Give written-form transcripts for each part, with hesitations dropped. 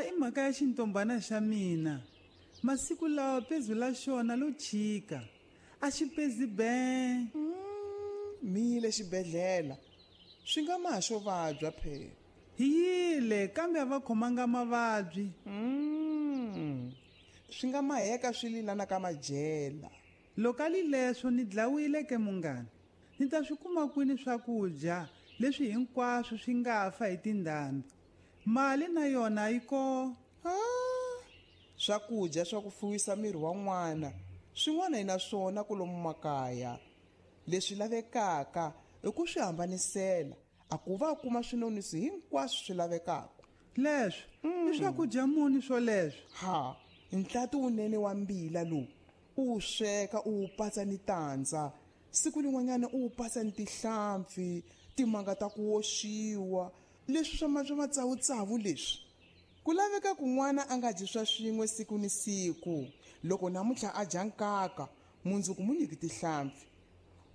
I mhaka ya xintombhana xa mina. Masiku lawa pezu la xona lo chika. A xi pezi ben. Mi yile xibedhlela. Swi nga ma xo vabya phela. Hi yile kambe a va khomanga mavabyi. Swi nga maheka swi lilana ka madyela. Loko a li leswo ni dlawile ke munghana. Ni ta swi kuma kwini swakudya leswi hinkwaswo swi nga fa hi tindhambi. Mali na yona yi ko. Ha! Swakudya swa ku fuwisa miri wa n'wana swin'wana hi na swona kolomu makaya. Leswi lavekaka i ku swi hambanisela a ku va kuma swinonisi hinkwaswo swi lavekaka. Leswi i swakudya muni swoleswo? Ha, ntlati wunene wa mbila lowu u wu sweka u wu patsa ni tandza. Siku lin'wanyana u wu patsa ni tihlampfi, timanga ta ku oxiwa, leswi swa swa matsavutsavu leswi. Ku laveka ku n'wana a nga dyi swa swin'we siku ni siku. Loko namuntlha a dya nkaka, mundzuku mu nyiki tihlampfi.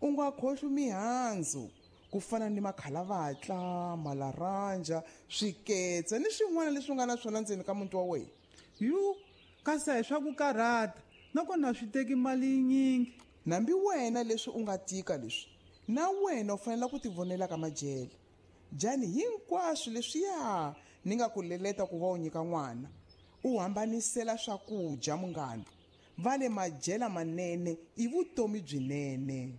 U nga khohlwi mihandzu ku fana ni makhalavatla, malaranja, swiketsa ni swin'wana leswi u nga na swona ndzeni ka muti wa wena. Yu, kasi a hi swa ku karhata, nakona a swi teki mali yinyingi. Nambi wena leswi u nga tika leswi, na wena u fanele ku tivonela ka madyele. Dyani hinkwaswo leswiya ni nga ku leleta ku va u nyika n'wana. U hambanisela swakudya munghana. Va le madyela manene i vutomi byinene.